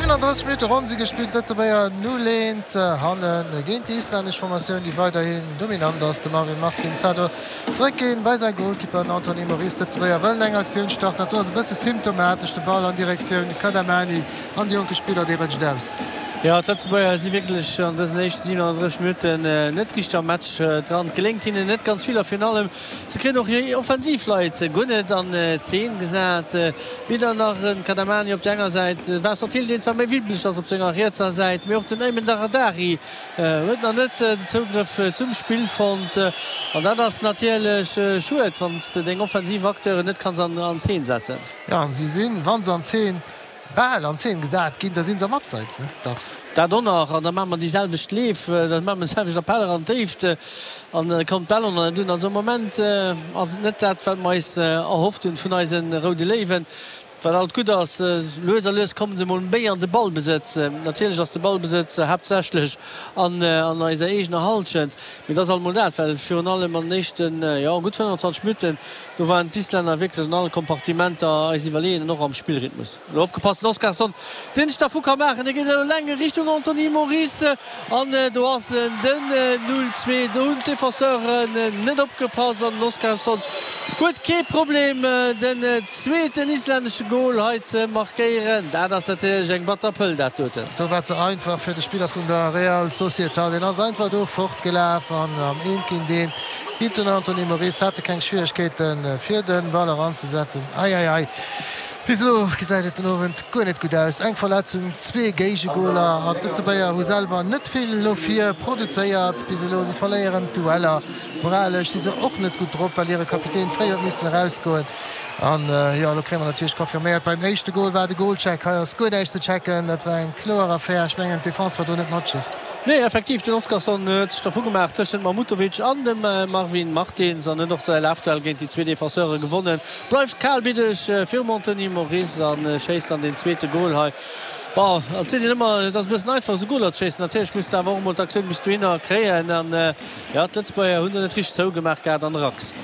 37 Minutte ronn si gespillt, Lëtzebuerger 0, 1 hanne géint déi islännesch Formatioun, déi weiderhin dominant ass. De Marvin Martins hat do zeréckginn bei säi Golkipper, den Anthony Moris. D'Lëtzebuerger wëllen eng Aktioun starten, dat do ass e bësse symptomatesch, de Ball an Direktioun Kadamani an de jonke Spiller, dee rëtscht aus. Jo, d'Lëtzebuerger si wierklech an dësen éischte 37 Minutten net richteg am Match dran. Et geléngt hinnen net ganz vill a virun allem se kréien och hir offensiv Leit guer net an Zeen gesat. Weder nach en Kadamani op der enger Säit, de Vincent Thill, deen zwar méi wibbeleg ass op senger rietser Säit, mee och den Aymen Daradari huet nach net den Zougrëff zum Spill fonnt. An dat ass natierlech schued, wann s de deng offensiv Acteuren net kanns an Zeen setzen. Jo, an si sinn, wa se an Zeen bal an Zeen gesat ginn, da si se am Abseits, ne? Dacks. Dat och nach, an da maache mer déi selwecht Leef, da maache mer de selwechten Appell eran d'Déift an da kommt d'Bal och nach net un. Also am Moment ass et net dat, wat mer eis erhofft hunn vun eise Roude Léiwen. Wat alt gutt ass, lues a lues komme se mol méi an de Ballbesëtz. Natierlech ass de Ballbesëtz haaptsächlech an eiser eegener Hallschent, mee et ass alt mol dat, well virun allem an den éischten, jo, gutt 25 Minutten, Do waren d'Islänner wierklech an alle Kompartimenter eis iwwerleeën an och am Spillrhythmus. Elo opgepasst, den Oskarsson, deen sech dervu ka maachen, dee geet elo eleng Richtung Anthony Moris an do ass en, den 0, 2. Do hunn d'Defenseuren net opgepasst an den Oskarsson huet kee Problem, den zweeten islännesche Gol hei ze markéieren. Dat ass natierlech eng batter Pëll, dat doten. Do war ze einfach fir de Spiller vun der Real Sociedad. Deen ass einfach do fortgelaf an am Eent géint Eent Hit den Anthony Moris hate keng Schwieregkeeten fir den Ball eranzesetzen. Eieiei, bis elo gesäit et den Owend guer net gutt aus. Eng Verletzung, zwee Géigegoler an d'Lëtzebuerger hu selwer net vill no vir produzéiert bis elo. Si verléieren d'Dueller. Moralesch si se och net gutt drop, well hire Kapitän fréi huet missen erausgoen. An jo, elo kréie mer natierlech confirméiert, beim éischte Gol war de Goalcheck. Hei ass guer näischt ze checken, dat war eng kloer Affär. Ech mengen d'Defense war do net matschig. Nee, effektiv, den Oskarsson huet sech dervu gemaach tëschent Mahmutovic an dem Marvin Martins an huet och säi Lafduell géint déi zwee Defenseure gewonnen. Bleift kalbiddeg virum Anthony Moris a schéisst dann deen zweete Gol hei. Bon, et seet een ëmmer, et ass e bëssen einfach esou Goler ze schéissen. Natierlech muss de awer och emol d'Aktioun bis dohinner kréien an jo, d'Lëtzebuerger hunn do net richteg zougemaach gehat an de Rax.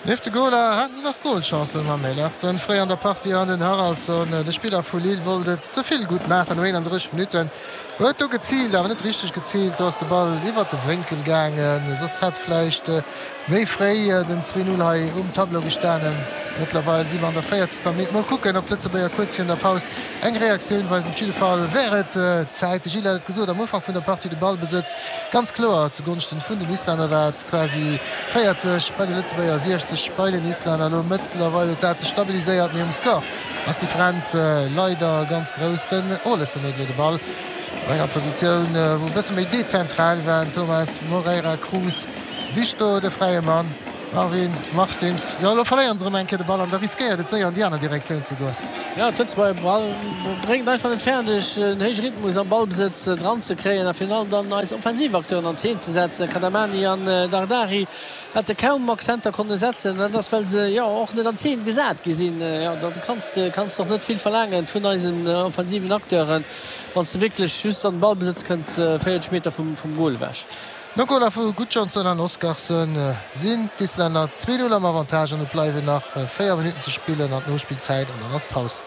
Nieft de Goler haten se nach Golchancen mam Eilertsen fréi an der Partie an den Haraldsson. De Spiller vu Lille wollt et ze vill gutt maachen no 31 Minutten. Huet do geziilt, awer net richteg geziilt. Do ass de Ball iwwert de Wénkel gaangen. Soss hätt vläicht méi fréi den 2, 0 hei um Tableau gestanen. Mëttlerweil si mer an der véierzegster Minutt. Mol kucken, ob d'Lëtzebuerger kuerz virun der Paus eng Reaktioun weisen. Op jidde Fall wär et Zäit. De Gilles hat et gesot am Ufank vun der Partie, de Ballbesëtz ganz kloer zu Gonschten vun den Islänner war et quasi 40 bei de Lëtzebuerger, 60 bei den Islänner. Elo mëttlerweil huet dat sech stabiliséiert, mee um Score ass d'Differenz leider ganz grouss. Den Olesen huet elo de Ball op enger Positioun, wou e bësse méi dezentral war. Den Thomas Moreira Cruz sicht do de fräie Mann. Marvin Martins, jo elo verléieren se erëm eng Kéier de Ball an da riskéiert et séier an déi aner Direktioun ze goen. Jo, d'Lëtzebuerger bréngt einfach net fäerdeg en héije Rhythmus am Ballbesëtz dran ze kréien a virun allem dann eis offensiv Acteuren an Zeen ze setzen. Kadamani an Dardari hätte kaum Accenter konne setzen, dat ass well se jo och net an Zeen gesat gi sinn. Jo, da kanns de kanns de och net vill verlaangen vun eisen offensiven Acteuren, wann s de wierklech just an den Ballbesëtz kënns 40 Meter vum Gol ewech. No Goler vu Gudjohnsen an Oskarsson sinn d'Islänner 2, 0 am Avantage an et bleiwen nach 4 Minutten ze spillen an d'Nospillzäit an dann ass Paus.